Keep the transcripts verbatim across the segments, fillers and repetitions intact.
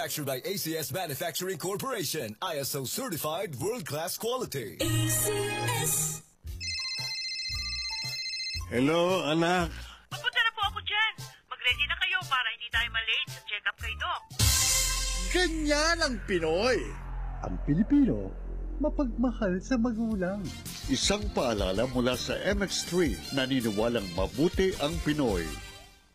Manufactured by A C S Manufacturing Corporation, I S O certified world-class quality. A C S. Hello, anak. Papunta na po ako dyan. Mag-ready na kayo para hindi tayo ma-late sa check-up kay Doc. Ganyan ang Pinoy. Ang Pilipino, mapagmahal sa magulang. Isang paalala mula sa M X three, naniniwalang mabuti ang Pinoy.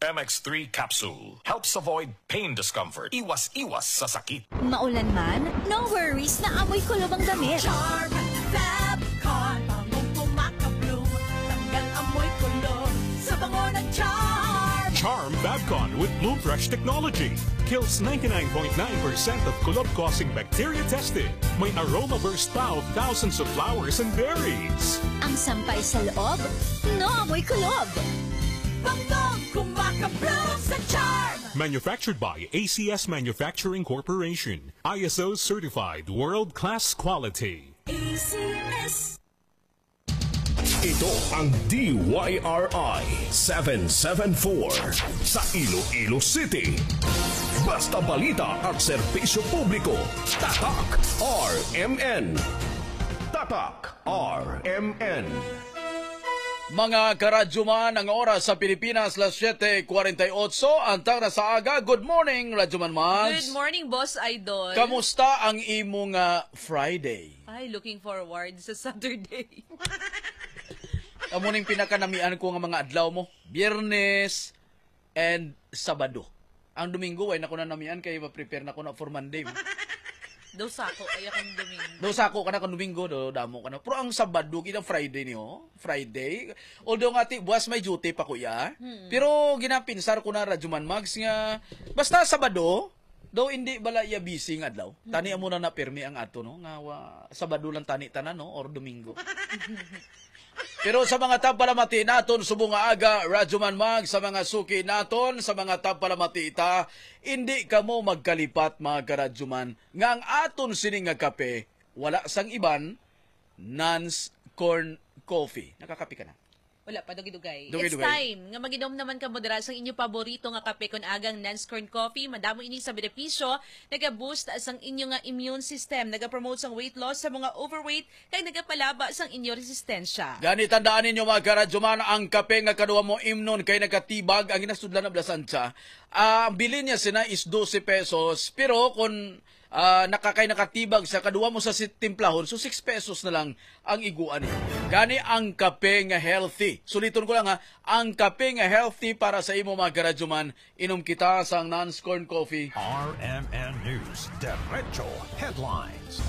M X three capsule helps avoid pain discomfort. Iwas-iwas sa sakit. Maulan man, no worries, naamoy kulob ang damit. Charm Fab Con, bangong kumakabloom, tanggal amoy kulob sa bango ng Charm. Charm Fabcon with Bloom Fresh technology kills ninety-nine point nine percent of kulob-causing bacteria tested. May aroma burst pa of thousands of flowers and berries. Ang sampay sa loob, no amoy kulob. Bangong kumakabloom sa Charm. Manufactured by A C S Manufacturing Corporation. I S O certified world-class quality. A C S. Ito ang D Y R I seven seven four sa Iloilo City. Basta balita at serbisyo publiko, Tatak R M N. Tatak R M N. Mga karadyoman, ang oras sa Pilipinas, las siete cuarenta y ocho, antang na sa aga. Good morning, Radyoman Mags. Good morning, Boss Idol. Kamusta ang imo nga Friday? Ay, looking forward sa Saturday. Amo ning pinakanamian ko nga mga adlaw mo, Biyernes and Sabado. Ang Domingo, way na ko na namian kay ma-prepare na ko na for Monday. Daw sako, ay akong Domingo. Daw sako ka na kung Domingo, do damo ka na. Pero ang Sabado, gid ang Friday niyo, Friday. Although nga ti, buwas may duty pa, kuya. Hmm. Pero ginapinsar ko na, Radyoman Mags, nga basta Sabado, daw hindi bala iya busy nga adlaw. Tani amo na na pirmi ang ato, no? Nga wa, Sabado lang tani tanan, no? Or Domingo. Pero sa mga tagpalamati naton subong nga aga, Radyoman Mag, sa mga suki naton, sa mga tagpalamati ta, indi kamo magkalipat, mga karadyoman, nga ang aton sini nga kape wala sang iban, Nans Corn Coffee. Nakakape ka na? Wala pa, dugay-dugay. Dugay-dugay. It's time nga mag-inom naman kamo dira sang inyo paborito nga kape kon agang Nans Corn Coffee. Madamo ini sa benepisyo, naga-boost sang inyo nga immune system, naga-promote sang weight loss sa mga overweight, kag nagapalaba sang inyo resistensya. Gani, tandaan ninyo, mga karadyoman, ang kape nga kaduha mo imnon kay nakatibag, ang ginasudlan na blasansya. Ah, ang bilin niya sina is dose pesos, pero kung, ah, nakakay nakatibag sa kaduha mo sa si-, timplahon, so six pesos na lang ang iguan niya. Gani ang kape nga healthy. Suliton ko lang ha, ang kape nga healthy para sa imo, mga karadyoman, inom kita sang Nans Corn Coffee. R M N News, Derecho Headlines.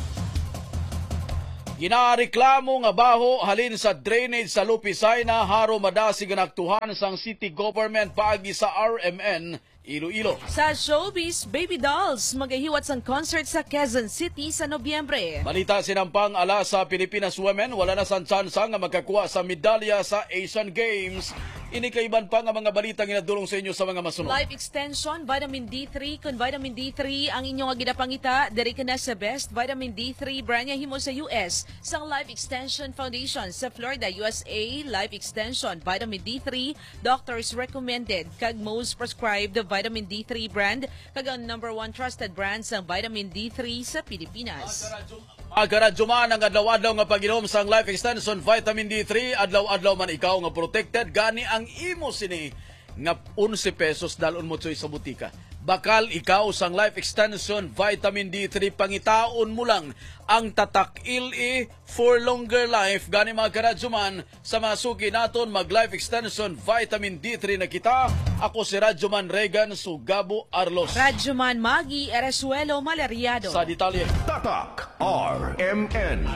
Ginareklamo nga baho halin sa drainage sa Lupisay na Jaro madasig nga naaktuhan sang city government paagi sa R M N Iloilo. Sa showbiz, Baby Dolls magahiwat sang concert sa Quezon City sa Nobyembre. Balita sinampang ala sa Pilipinas Women, wala na sang tsansa nga makakuha sa medalya sa Asian Games. Ini kag iban pa nga mga balita ginadulong sa inyo sa mga masunod. Life Extension, Vitamin D three. Kon Vitamin D three ang inyo nga ginapangita, diri ka na sa best Vitamin D three brand nga himo sa U S, sang Life Extension Foundation sa Florida, U S A. Life Extension, Vitamin D three, doctors recommended, kag most prescribed vitamin D three brand, kag ang number one trusted brand sang vitamin D three sa Pilipinas. Mga karadyoman, ang adlaw-adlaw nga pag-inom sang Life Extension Vitamin D three, adlaw-adlaw man ikaw nga protected, gani ang imo sini nga onse pesos dal-on mo, Choy, sa butika. Bakal ikaw sang Life Extension Vitamin D three, pangitaon mo lang ang Tatak L E for longer life. Gani, mga karadyoman, sa mga suki naton, mag Life Extension Vitamin D three na kita. Ako si Radyoman Regan Sugabo Arlos. Radyoman Magi Eresuelo Maleriado. Sa detalye. Tatak R M N.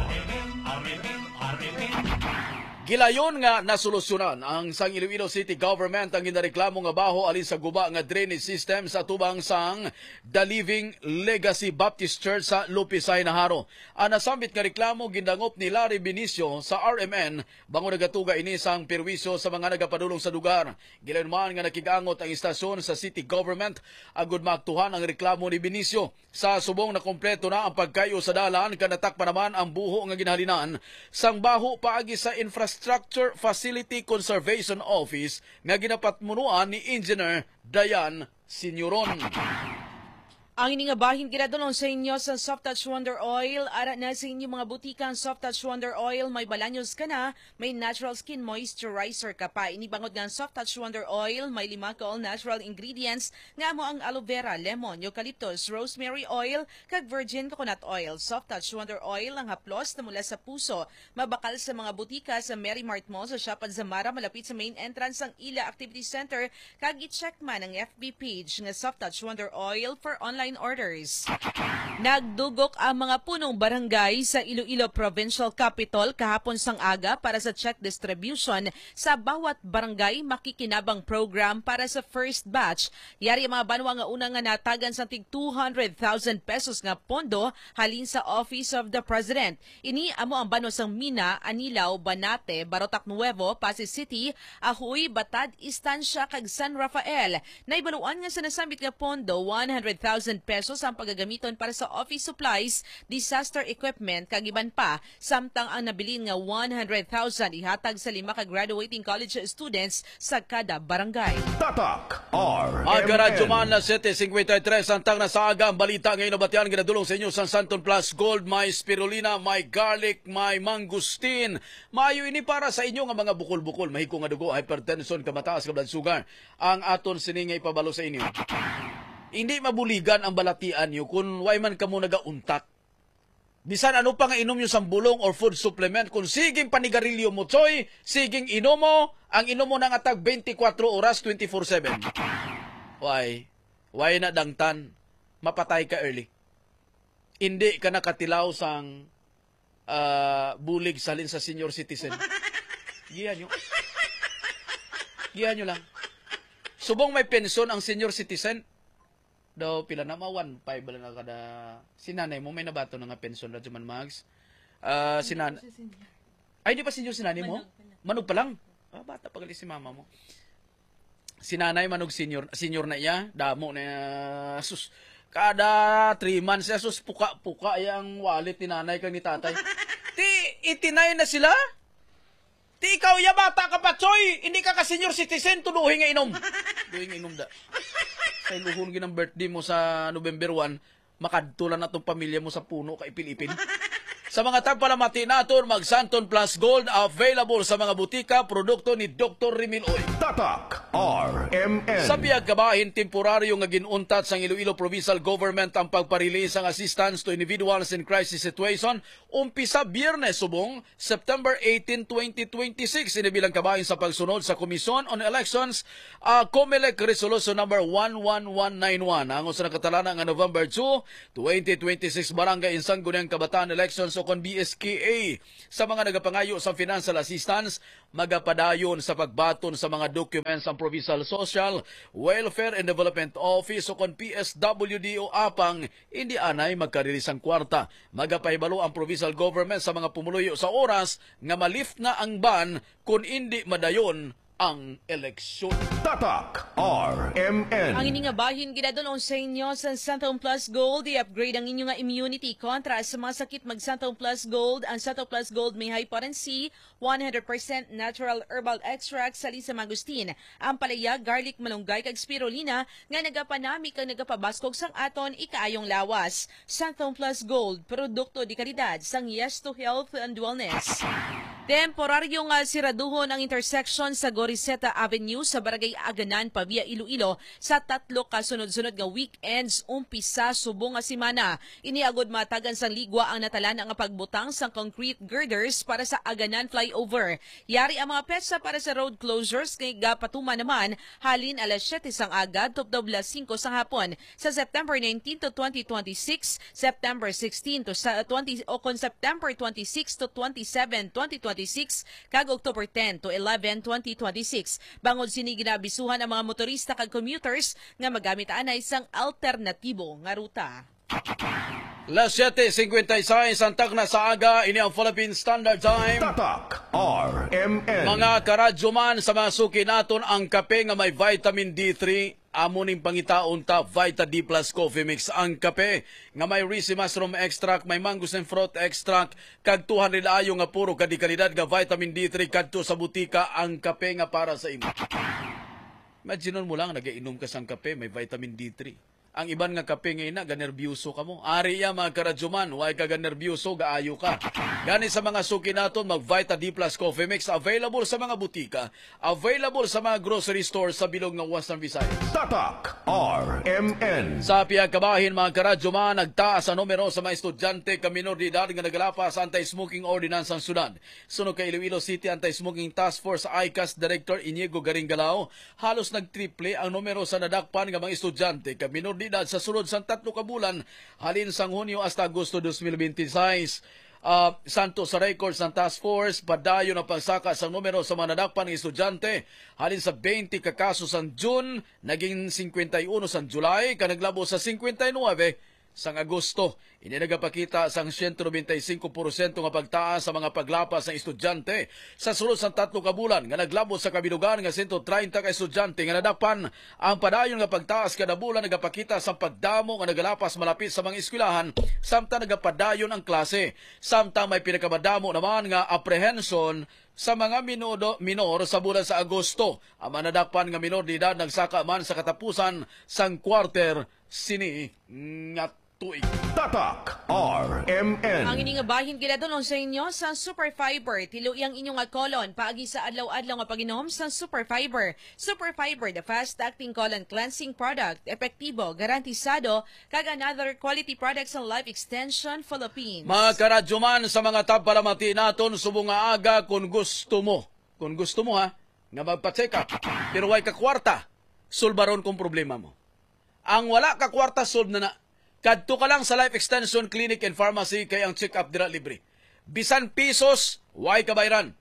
Gilayon nga nasolusyonan ang sang Iloilo City Government ang ginareklamo nga baho halin sa guba nga drainage system sa atubang sang The Living Legacy Baptist Church sa Lupisay na Jaro. Ang nasambit nga reklamo gindangop ni Larry Benicio sa R M N, bangod nagatuga ini sang perwisyo sa mga nagapadulong sa lugar. Gilayon man nga nakig-angot ang istasyon sa city government agud maaktuhan ang reklamo ni Benicio. Sa subong, nakompleto na ang pagkayo sa dalan kag natakpan naman ang buho nga ginahalinan sang baho paagi sa Infrastructure Facility Conservation Office nga ginapatmunuan ni Engineer Dayan Senioron. Ang ini nga bahin ginadulong sa inyo sa Soft Touch Wonder Oil. Ara na sa inyo mga butika ang Soft Touch Wonder Oil. May balanyos ka na, may natural skin moisturizer ka pa. Ini bangod nga ang Soft Touch Wonder Oil may lima ka all-natural ingredients nga amo ang aloe vera, lemon, eucalyptus, rosemary oil, kag virgin coconut oil. Soft Touch Wonder Oil ang haplos na mula sa puso. Mabakal sa mga butika sa Merry Mart Mall, sa Shop at Zamara, malapit sa main entrance sang ila activity center, kag i-check man ang F B page nga Soft Touch Wonder Oil for online orders. Nagdugok ang mga punong barangay sa Iloilo Provincial Capitol kahapon sang aga para sa check distribution sa bawat barangay makikinabang program para sa first batch. Yari ang mga banwa nga una nga natagan sang tig two hundred thousand pesos nga pondo halin sa Office of the President. Ini amo ang banwa sang Mina, Anilao, Banate, Barotac Nuevo, Passi City, Ajuy, Batad, Estancia, kag San Rafael. Nahibaluan nga sa nasambit nga pondo, one hundred thousand pesos ang pagagamiton para sa office supplies, disaster equipment, kag iban pa, samtang ang nabilin nga one hundred thousand ihatag sa lima ka graduating college students sa kada barangay. Tatak R M N. Aga Radyo Man, siyete cincuenta y tres, samtang na sa aga ang balita nga inabatian, ginadulong sa inyo sang Santon Plus Gold. May spirulina, may garlic, may mangustin. Maayo ini para sa inyo nga mga bukol-bukol, mahigko nga dugo, hypertension, kamataas nga blood sugar. Ang aton sini nga ipabalo sa inyo. Hindi mabuligan ang balatian niyo kung way man kamo nagauntat. Bisan ano pa nga inom niyo sang bulong or food supplement, kung siging panigarilyo mo, choy, siging inom mo, ang inom mo na nga tag twenty-four oras, twenty-four seven. Why? Why na dangtan? Mapatay ka early. Hindi ka nakatilaw sang, ah, bulig salin sa senior citizen. Gihan nyo. Gihan nyo lang. Subong may pensyon ang senior citizen. Daw pila na, ma one five bala na kada. Si nanay mo may nabato na nga pensyon, Radyo Man Mags. Ah, si nan- Hindi pa siya senior. Ay, di pa senior si nanay mo? Manog pa lang. Manog pa lang? Ah, bata pa gali si mama mo. Si nanay manog senior, senior na iya, damo na iya, sus. Kada three months siya, sus, puka-puka iya ang wallet ni nanay kag ni tatay. Ti, eighty-nine na sila? Ti ikaw, ya bata ka pa, Choy! Hindi ka ka senior citizen, tuduhi nga inom. Tuduhi nga inom da. Sa iluhon ginang birthday mo sa November one, makadto lang na tong pamilya mo sa puno ka ipil-ipil. Sa mga tagpalamati naton, mag Santon Plus Gold, available sa mga butika, produkto ni Doktor Remil Oy. Tatak R M N. Sa piyagkabahin temporaryo nga gin-untat sang Iloilo Provincial Government ang pagpa-release sang assistance to individuals in crisis situation, umpisa Biyernes subong September eighteen, twenty twenty-six, ini bilang kabahin sa pagsunod sa Commission on Elections, ah, COMELEC Resolution Number one one one nine one. Angon sa nakatalana nga November two, twenty twenty-six, Barangay in Sangguniang Kabataan Elections o kon B S K A. Sa mga nagapangayo sa financial assistance, magapadayon sa pagbaton sa mga documents ang Provincial Social, Welfare and Development Office o kon P S W D o apang hindi anay magkarili sang kwarta. Magapahibalo ang provincial government sa mga pumuluyo sa oras nga ma-lift na ang ban kon indi madayon ang eleksyon. Tatak R M N. Ang ini nga bahin ginadulong sa inyo sa Santon Plus Gold. I-upgrade ang inyo nga immunity kontra sa mga sakit. Mag Santon Plus Gold. Ang Santon Plus Gold may high potency, one hundred percent natural herbal extract sa Lisa Mangosteen, ampalaya, garlic, malunggay, kag spirulina nga nagapanami kag nagapabaskog sang aton ikaayong lawas. Santon Plus Gold, produkto de kalidad sang Yes to Health and Wellness. Temporaryo nga siraduhon ang intersection sa Goriseta Avenue sa Barangay Aganan, Pavia, Iloilo, sa tatlo ka sunod-sunod nga weekends, umpisa subong nga semana. Ini agud matagan sang ligwa ang natalana nga pagbutang sang concrete girders para sa Aganan Flyover. Yari ang mga petsa para sa road closures nga gapatuman naman halin alas siyete sang aga tubtob alas singko sang hapon sa September nineteen to twenty twenty-six, September sixteen to sa twenty, o kon September twenty-six to twenty-seven, twenty twenty-six, kag October ten to eleven, twenty twenty-six. Bangod sini, ginaabisuhan ang mga motorista kag commuters nga magamit anay sang alternatibo nga ruta. Las siyete cincuenta y seis ang takna sa aga, ini ang Philippine Standard Time. Tatak R M N. Mga karadyo man, sa mga suki naton, ang kape nga may vitamin D three, amo ning pangitaon ta, Vita D plus Coffee Mix. Ang kape nga may risi mushroom extract, may mangosteen fruit extract, kag two hundred ayo nga puro ka de kalidad nga vitamin D three kadto sa butika, ang kape nga para sa imo. Imagine mo lang, nagainom ka sang kape, may vitamin D three. Ang iban nga kape nga ina, ganerbyoso ka mo. Ari ya, mga karadyoman, way ka ganerbyoso, gaayo ka. Gani sa mga suki naton, mag Vita D plus Coffee Mix, available sa mga butika, available sa mga grocery store sa bilog nga Western Visayas. Tatak R M N. Sa pihak kabahin, mga karadyoman, nagtaas ang numero sa mga estudyante ka minor de edad nga nagalapas sa anti-smoking ordinance sang syudad. Suno kay Iloilo City Anti-Smoking Task Force ICAS Director Inigo Garingalao, halos nagtriple ang numero sa nadakpan nga mga estudyante kag minor de edad sa sulod sang tatlo ka bulan, halin sang Hunyo hasta Agosto dos mil binte seis. Ah, santo sa record sang task force, padayon ang pagsaka sang numero sa mga nadakpan nga estudyante, halin sa twenty ka kaso sang June, naging cincuenta y uno sang July, kag naglabo sa cincuenta y nueve sang Agosto. Ini nagapakita sang siyento nobenta y singko porsyento nga pagtaas sa mga paglapas sang estudyante sa sulod sang tatlo ka bulan, nga naglabot sa kabilugan nga siyento treinta ka estudyante nga nadakpan. Ang padayon nga pagtaas kada bulan nagapakita sang pagdamo nga nagalapas malapit sa mga eskwelahan, samtang nagapadayon ang klase. Samtang may pinakamadamo naman nga apprehension sa mga minudo, minor sa bulan sa Agosto. Ang mga nadakpan nga minor de edad nagsaka man sa katapusan sang quarter sini nga tuig. Tatak R M N. Ang ining bahin ginadulong sa inyo sa Super Fiber. Tiluyi ang inyo nga colon paagi sa adlaw-adlaw nga pag-inom sa Super Fiber. Super Fiber, the fast-acting colon cleansing product. Epektibo, garantisado, kag another quality product sa Life Extension Philippines. Mga karadyoman, sa mga tagpalamati naton subong nga aga, kung gusto mo, kung gusto mo ha, nga magpa-check up, pero way ka kwarta, sulbaron kong problema mo. Ang wala ka kwarta, solve na na. Kadto ka lang sa Life Extension Clinic and Pharmacy, kay ang check-up dira libre. Bisan pisos, way ka bayran.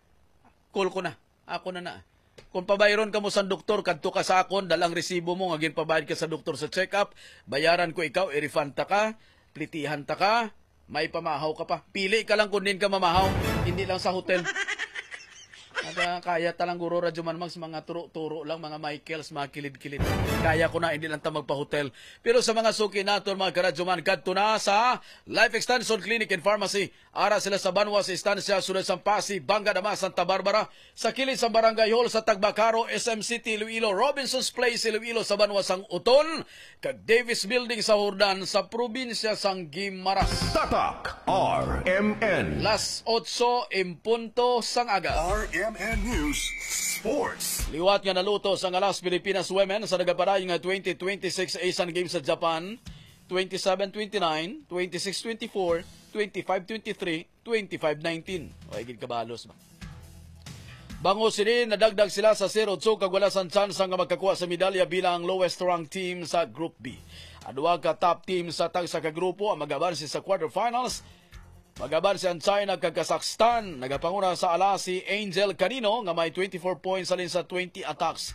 Call ko na. Ako na na. Kung pabayron ka mo sa doktor, kadto ka sa akon, dalang resibo mo nga ginpabayad ka sa doktor sa check-up, bayaran ko ikaw, i-refund ta ka, plitihan ta ka, may pamahaw ka pa. Pili ka lang kung din ka mamahaw, hindi lang sa hotel. Aga, kaya ta lang guro Radyo Manmax, mga turo-turo lang, mga Michaels, mga kilid-kilid. Kaya ko na, hindi lang ta magpa-hotel. Pero sa mga suki naton, mga karadyoman, kadto na sa Life Extension Clinic and Pharmacy. Ara sila sa banwa sa Estancia, sulod sang Pasi, Banga Dama, Santa Barbara, sa kilid sang Barangay Hall sa Tagbacaro, S M City, Iloilo, Robinson's Place, Iloilo, sa banwa sang Oton, kag Davis Building sa Jordan, sa probinsya sang Guimaras. Tatak R M N. Las otso en punto sang aga. R M N News Sports. Liwat nga naluto sang Alas Pilipinas Women sa nagapadayon nga twenty twenty-six Asian Games sa Japan, twenty-seven twenty-nine, twenty-six twenty-four, twenty-five twenty-three, twenty-five nineteen. O, ay gid kabalos ba? Bangod sini, nadagdag sila sa zero two kag wala sang tsansa nga magkakuha sa medalya bilang ang lowest rank team sa Group B. Ang duha ka top team sa tagsa ka grupo ang mag-abanse sa quarterfinals. Mag-abanse ang China kag Kazakhstan. Nagapanguna sa ala si Angel Canino nga may twenty-four points halin sa twenty attacks.